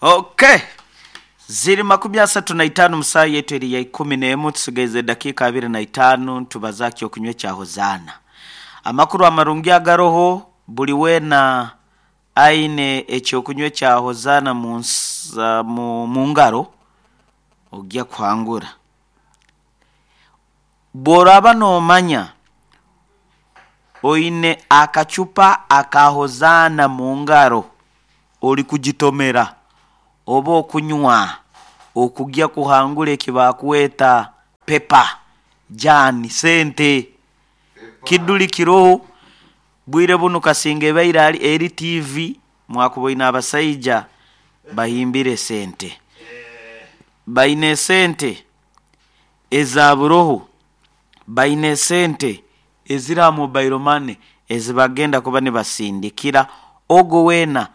Okay. Ziri 35 mu saaha yaitu eri ya 11, tusigaize edakiika 25 tubaze aha ky'okunywa ekya Hozaana. Amakuru amarungi agaroho, buri weena aine eky'okunywa ekya Hozaana mu mu mu ngaro ogya kuhangura. Bw'oraaba noomanya oine akacupa aka Hozaana mu ngaro orikugitomera oba okunywa okugya kuhangura eki baakweta pepa, jaani, sente. Kiduri kiroho bwire bunu kasinga ebaire ari eri tiivi mwakuboine abasaija bahimbire esente. Baine esente eza buroho, baine esente eziri aha mobile money ezibagenda kuba nibasindikira ogwo weena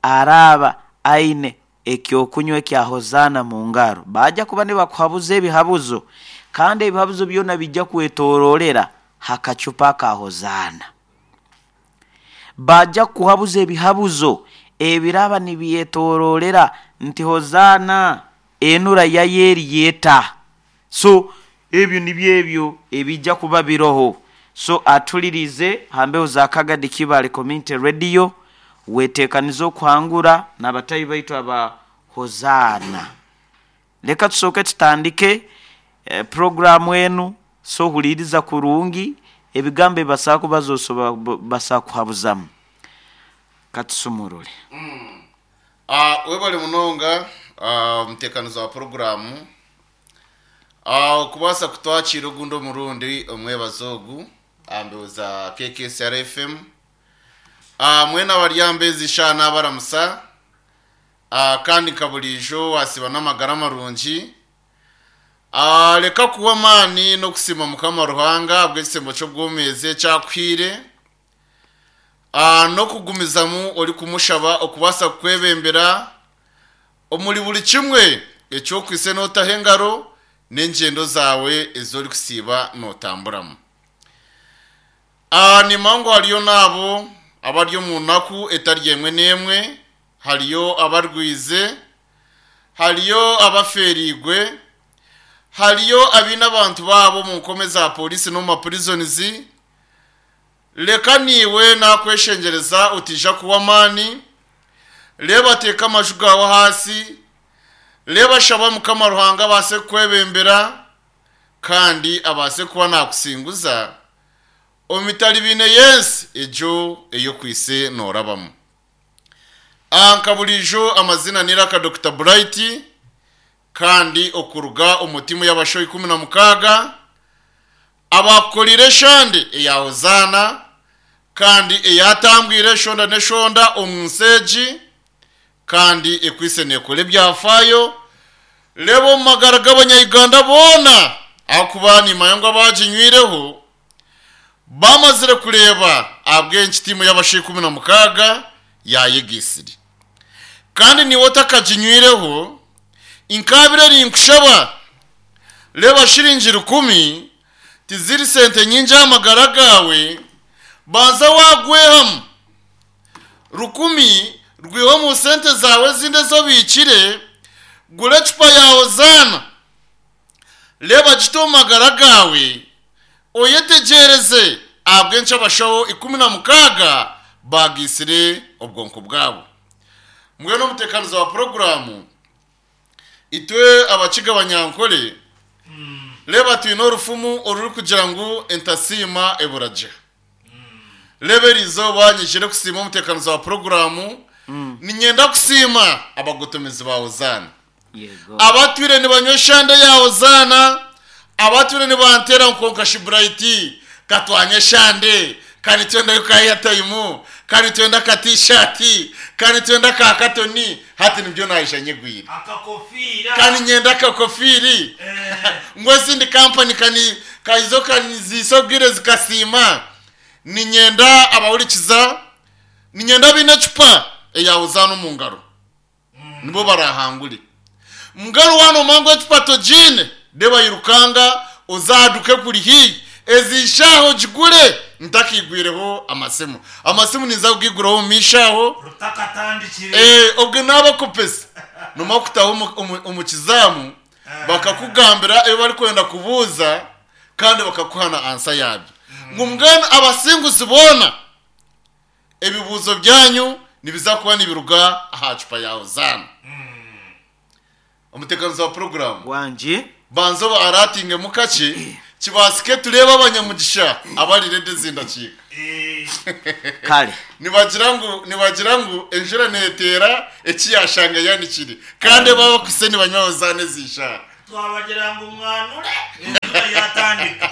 araaba aine eky'okunywa ekya Hozaana mu ngaro. Baija kuba nibakuhabuza ebihabuzo kandi ebihabuzo byona biija kwetoroorera ha kacupa aka Hozaana. Baija kukuhabuza ebihabuzo ebiraaba nibyetoroorera nti Hozaana enura yayo eriyo eta. So ebyo nibyo ebyo ebiija kuba biroho. So atulirize ha mbeho za Kagadi Kibaale Community Radio, wetekanize okuhangura n'abatahi baitu aba Hozaana. Leka tusooke tutandike puroguramu enu, so huliiriza kurungi ebigambo ebi basobola kubaza osobola basobola kuhabuzamu. Katusumurure. Webale munonga omuteekanizi wa puroguraamu okubaasa kutwakiira ogundi omurundi omwebazo ogu aha mbeho za KKCR FM. Mwena abari aha mbeho ezi shaaha naabaramusa kandi nka buriijo waasiiba n'amagara marungi. Reka kuhwa amaani n'okusiima Mukama Ruhanga ahabw'ekisembo ky'obwomeezi eki akuhaire. N'okugumizamu orikumushaba okubaasa kukwebembera omuri buri kimwe eki okwaitse nootaho engaro n'engyendo zaawe ezi orikusiiba nootamburamu. Nimanya ngu hariyo n'abo abari omu naku etari emwe n'emwe, hariyo abarwaize, hariyo abafeereirwe, hariyo abaine abantu baabo omu nkome za pooriisi n'omu mapurizonizi. Reka naiwe naakweshengyereza otaija kuhwa amaani. Reeba teeka amaju gaawe ahansi. Reeba shaba Mukama Ruhanga abaase kukwebembera kandi abaase kuba naakusinguza omu mitaribaine y'ensi egyo ei okwaitse noorabamu. Nka buriijo amaziina n'eiraka Dokita Bright kandi okuruga omu tiimu y'abashaho 16. Abaakukoreire eshande eya Hozaana, kandi eyaatambwire eshonda n'eshonda omu nsi egi, kandi ekwaitse neekora ebyafaayo, reeba omu magara g'Abanya-Uganda boona, ahakuba nimmanya ngu abaaginywireho baamazire kureeba ahabw'enki tiimu y'abashaija 16 yaayegaitsire. Kandi naiwe otakaginywireho, Nkaabire ninkushaba, reeba shiringi rukumi tiziri sente nyingi aha magara gaawe, banza waagwehamu. Rukumi rwihe omu sente zaawe ezindi ezi obiikire, gura ecupa ya Hozaana, reeba gite omu magara gaawe, oyetegyereze ahabw'enki abashaho 16 baagaitsire obwonko bwabo. Mbwenu omuteekaniza wa puroguraamu, itwe Abakiga Abanyankore, reeba twine orufumu orurikugira ngu entasiima ebura gye. Reeba eriizooba nyijire kusiima omuteekaniza wa puroguraamu, niinyenda kusiima abagotomezi ba Hozaana. Abatwire nibanywa eshande ya Hozaana, abatwire nibanteera ngu kwonka shi Bright ka twanywa eshande, ka nitwendayo ka airtime, ka nitwenda ka t-shirt, ka nitwenda ka katoni, hati nibyo naija nyegwire. Ka niinyenda akakofiiri, ngu ezindi kampani ka ni ka izo ka niziisa obwire zikasiima. Niinyenda abahurikiza, niinyenda abaine ecupa eya Hozaana omu ngaro. nibo baraahangure. Mbwenu waaba noomanya ngu ecupa togiine, reeba irukanga oze aha duuka ekuri haihi, ezi shaaha ogigure ntakaigwireho amasimu. Amasimu ninza kugaiguraho omu maisho aho. Rutakatandikire. Eh, obwe naaba kupesa. Noomara kutaaha omu- omu- omu kizaamu bakakugambira ebi barikwenda kubuuza kandi bakakuha na ansa yaabyo. Ngu mbwenu abasinguzi boona ebibuuzo byanyu nibiza kuba nibiruga aha cupa ya Hozaana. Omuteekanizi wa puroguraamu. Wangi. Banza oba araatingemu kakye kibaasike tureebe abanyamugisha abari ready ezi ndakiika. Kare. Nibagira ngu nibagira ngu enjura neeteera eki yaashanga yanikire kandi eba abakwitse nibanywa Hozaana ezi shaaha. Twabagira ngu mwanure enjura yaatandika.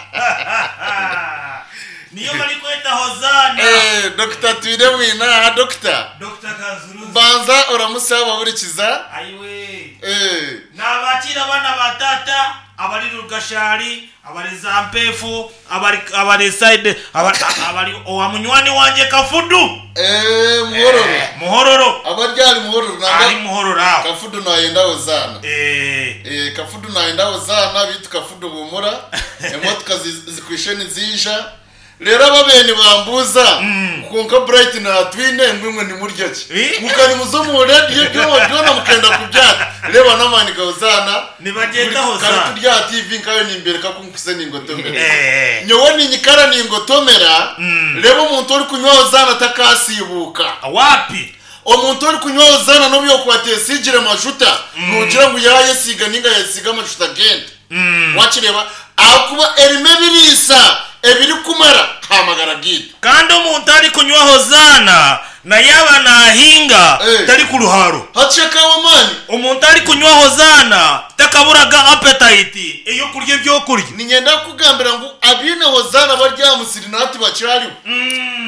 Niyo barikweta Hozaana. Eh, Dokita Twine Mwine aha. Dokita. Dokita Kanzuruzi. Banza oramutsye abahurikiza. Ayiwe. Eh. Naabakiira abaana ba taata abari Rugashari, abari Zampefu, abari abari side abari abari owa munywani wangye Kafudu. Eh, Muhororo. Muhororo. Abari ahari Muhororo nangwa. Ahari Muhororo aho. Kafudu nayenda Hozaana. Eh. Eh, Kafudu nayenda Hozaana beitu Kafudu humura. Emotoka zikwishe niziija. Reero ababaire nibambuuza ngu kwonka Bright naatwine ngu imwe nimurya ki? Ngu ka nimuza omu radiyo byona byona mukenda kubyata. Reeba n'amaani ga Hozaana. Nibagyeta Buri kare Hozaana. turi aha TV nkayo nimbereka ku nkuze ningotomera. Eh. Nyowe ninyikara ningotomera, reeba omuntu orikunywa Hozaana takaasiibuuka. Waapi? Omuntu orikunywa Hozaana n'obu yookuba ateesiigire majuta, noogira ngu yaayesiiga nainga yaayesiiga amajuta g'ente. Waakireeba? Ahakuba erimu ebiriisa ebirikumara aha magara gaitu. Kandi omuntu arikunywa Hozaana na yaaba naahinga Eh. tarikuruharo. Hati shaka w'amaani. Omuntu arikunywa Hozaana takaburaga appetite ey'okurya ebyokurya. Niinyenda kukugambira ngu abaine Hozaana bari aha musiri na hati bakyariho.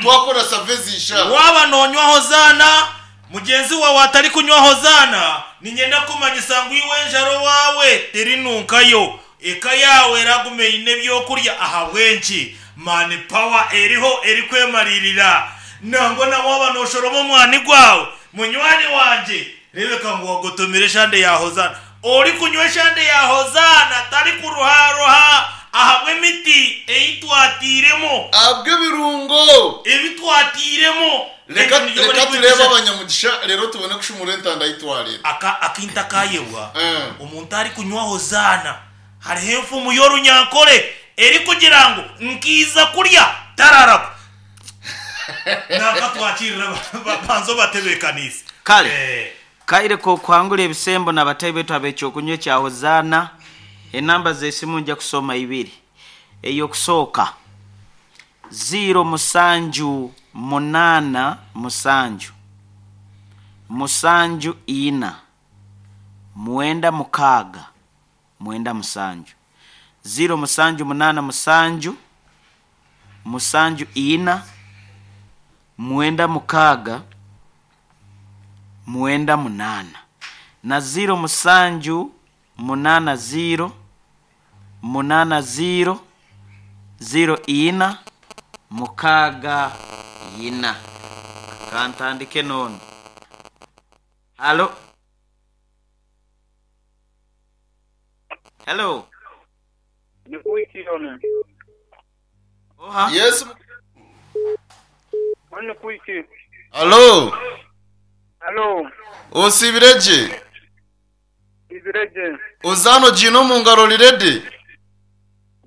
Twakora save ezi ishaaha. Waaba noonywa Hozaana, mugyenzi waawe atarikunywa Hozaana, niinyenda kukumanyisa ngu iwe enjara owaawe terinunkayo. Eka yaawe eraguma eine ebyokurya. Ahabw'enki? Mani pawa eriho erikwemariirira. Nangwa na waaba nooshoroma omwani gwawe, munywani wangye, reebeka ngu wagotomire eshande ya Hozaana. Orikunywa eshande ya Hozaana tarikuruharuha ahabw'emiti ei twatairemu. Ahabw'ebirungo. Ebi twatairemu. Reka Egyo niyo reka barikweta tureebe eshande. abanyamugisha reero tubone kushumura entanda ei twareeta. Aka akintu akayebwa, omuntu arikunywa Hozaana, hariho enfumu y'orunyankore erikugira ngu nkiiza kurya tararako. Nanka twakirira banza obatebeekaniise. Kale, kaire k'okuhangura ebisembo n'abataahi baitu ab'eky'okunywa ekya Hozaana. Enamba z'esimu nja kusoma ibiri. Ey'okusooka, ziiro musanju munaana musanju, musanju ina, mwenda mukaaga, mwenda musanju. Ziiro musanju munaana musanju, musanju ina, mwenda mukaaga, mwenda munaana. Na ziiro musanju munaana ziiro, munaana ziiro, ziiro ina, mukaaga ina. Kantandike n'onu. Halo. Hello. Ni kuiki yone. Oha. Yes. Ni kuiki. Halo. Halo. Osiibire gye? Nsiibire gye. Ozaana ogiine omu ngaro ori ready?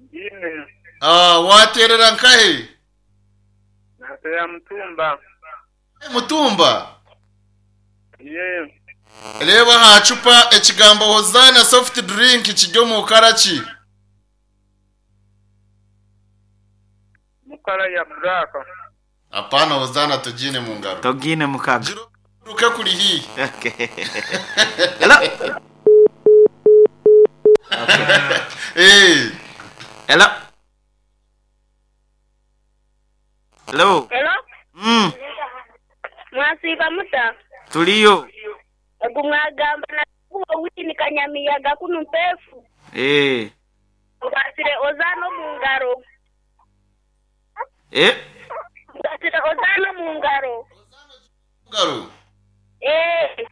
Ngiine. Ah, waateerera nkahe? Naateerera Mutumba. Mutumba? Yee. Reeba aha cupa ekigambo Hozaana soft drink kiri omu kara ki? Mu kara ya buraaka. Apaana Hozaana togiine mu ngaro. Togiine mukago. Gira oruke kuri haihi. Okay. Hello. Okay. Eh. Hello. Hello. Hello? Mwasiiba muta? Tuliyo. Ogu mwagamba na kuba Winnie Kanyamiyaga kunu Mpeefu. Eeh. Nkwasire Ozaana omu ngaro. Eh? Nkwasire Ozaana omu ngaro. Ozaana omu ngaro? Eeh.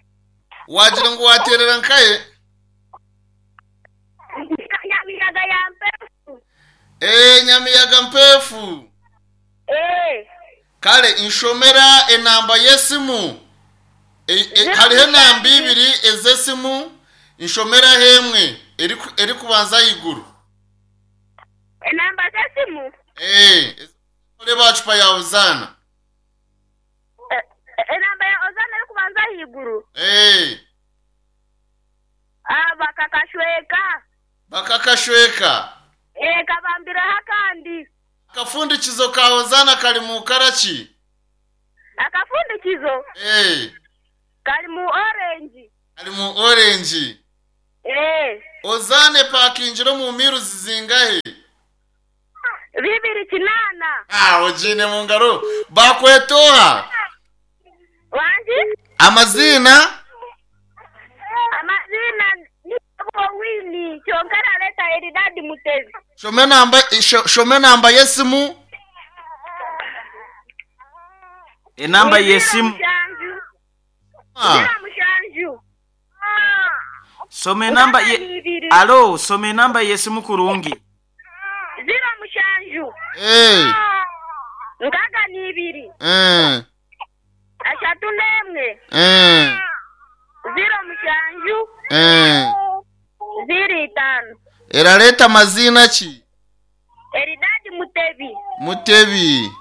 Waagira ngu waateerera nkahe? Nyamiyaga ya Mpeefu. Eeh, Nyamiyaga Mpeefu. Eeh. Kare nshomera enamba y'esimu. Hariho enamba ibiri ez'esimu nshomeraho emwe erikubanza ahaiguru. Enamba z'esimu? Oreeba aha cupa ya Hozaana. Enamba ya Hozaana erikubanza ahaiguru? Bakakashweka. Bakakashweka. Kabambireho akandi. Akafundikizo ka Hozaana kari mu kara ki? Akafundikizo? Kari mu orengi. Kari mu orengi. Hozaana epakingire omu miruzi zingahe? 2 8. Ogiine mu ngaro. Bakweta oha? Wangi? Amaziina? Amaziina ni Owini kyonka arareeta Elidadi Mutebi. Shoma enamba y'esimu. Enamba y'esimu. 07. Soma enamba ye Alo, soma enamba y'esimu kurungi. 07. 62. 31. 07. 05. Erareeta maziina ki? Elidadi Mutebi. Mutebi.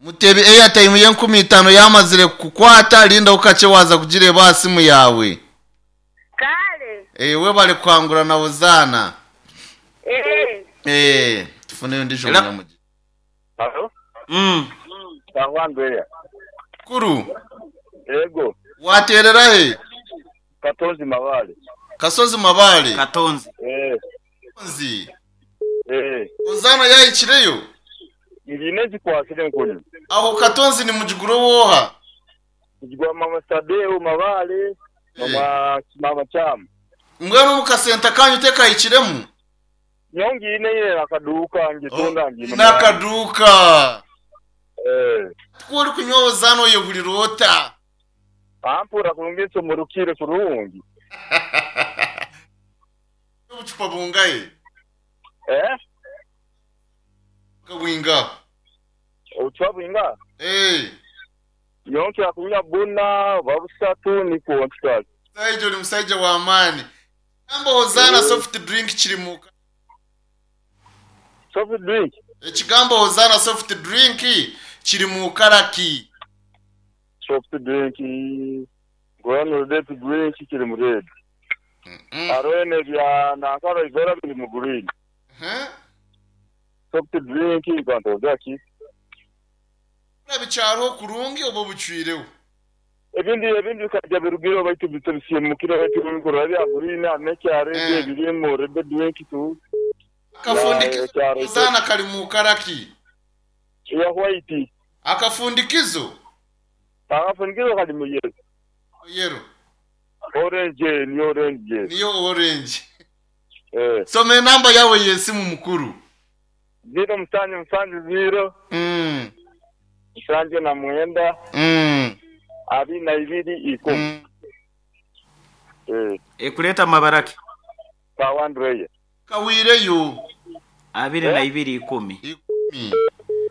Mutebi airtime y'enkumi itaano yamazire kukukwata rindaho kakye waaza kugireeba aha simu yaawe. Kare. Webare kuhangura na Hozaana. Tufune ondiijo munyamugisha. Halo? Mm. Andrea. Kuru. Yego. Waterera he? Katonzi Mabale. Kasozi Mabale. Katonzi. Katonzi. Eh. Hozaana yahikireyo? Ngine zikwasire nkuni. Aho Katonzi ni mujuguro woha? Mujugwa mama Sadeo Mabale, mama mama Cham. Mbwenu omu kasenta kanyu tekahikiremu? Nyongine ile akaduka ngitunda ngine. N'akaduuka. Ku orikunywa Hozaana oyehurira ota? Ampura kurungi nsomorokire kurungi. Obucupa bungahe? Eh? Bwinga. Obucupa bwinga? Eh. Yonke akunywa buna babusatu niko ntikazi. Musaija ori musaija w'amaani. Ekigambo Hozaana soft drink kiri mu Soft drink? Ekigambo Hozaana soft drink kiri mu kara ki? Soft drink ngwenu red drink kiri mu red. Hariho ebya nankara ibera biri mu green. Soft drink ngantoza ki? Bikyariho kurungi oba bucwireho? Ebindi ebindi bikajya birugire baitu bisiemukire baitu bikora bya green anekyare biri mu red drink tu. Akafundikizo Hozaana kari mu kara ki? Ya white. Akafundikizo? Akafundikizo kari mu yellow. Yellow. Orange ni orange. Niyo orange. Soma enamba yawe y'esimu mukuru. 0 7 7 0. 79. 22 10. Ekuleta amabaraki. Kawandreye. Kawireyo. 22 10. 10.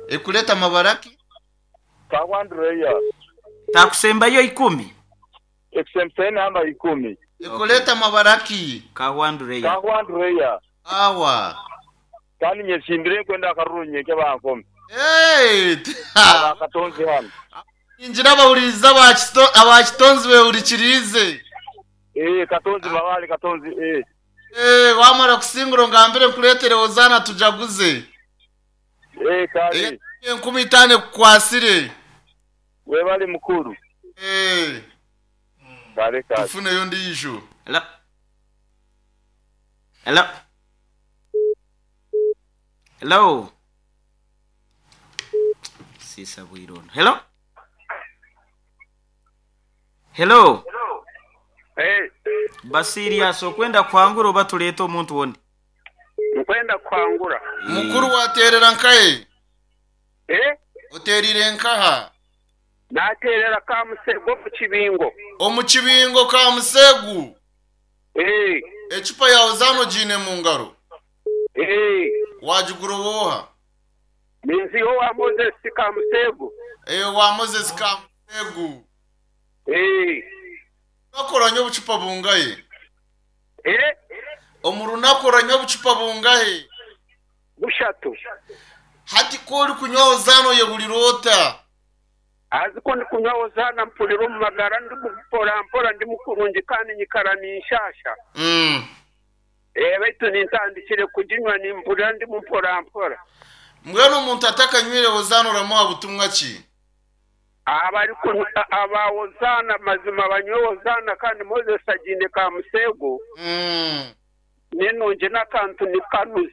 Ekuleta amabaraki? Kawandreya. Takusembayo 10. Ekusembayo namba 10. Ekuleta amabaraki? Kawandreya. Kawandreya. Awa. Kandi nyesimbire kwenda akaruru nyeke bankome. Hey! Katonzi hano. Injira abahuririza abakitonzi behurikirize. Katonzi Mabale Katonzi. Wamara kusingura ngambire nkuretere Hozaana tujaguze. Kale. 5000 kukwasire. Webale mukuru. Kale kale. Tufuneyo ndiisho. Hello. Hello. Hello. Sisa bwirono. Hello. Hello. Hey. Basirias okwenda kwangura oba tuleeta omuntu wondi? Nkwenda kwangura. Mukuru waterera nkaye? Eh? Oterire nkaha? Naterera Kamusegu omu kibingo. Omu kibingo Kamusegu? Eh. Ecupa ya Hozaana ogiine mu ngaro? Eh. Wagigura woha? Ninziho wa Moses Kamusegu. Wa Moses Kamusegu. Eh. Orunaku oranywa obucupa bungahe? Eh? Omu runaku oranywa obucupa bungahe? Bushatu. Hati ku orikunywa Hozaana oyehurira ota? Haza ku ndikunywa Hozaana mpurira omu magara ndi mpora mpora ndi mukurungi kandi nyikara ninshasha. Eh, baitu nintandikire kuginywa nimpurira ndimu mpora mpora. Mbwenu omuntu atakanywire Hozaana oramuha butumwa ki? Abarikunywa aba Hozaana mazima banywe Hozaana kandi Moses agiine ka museego. Ninungi n'akantu nikanuza.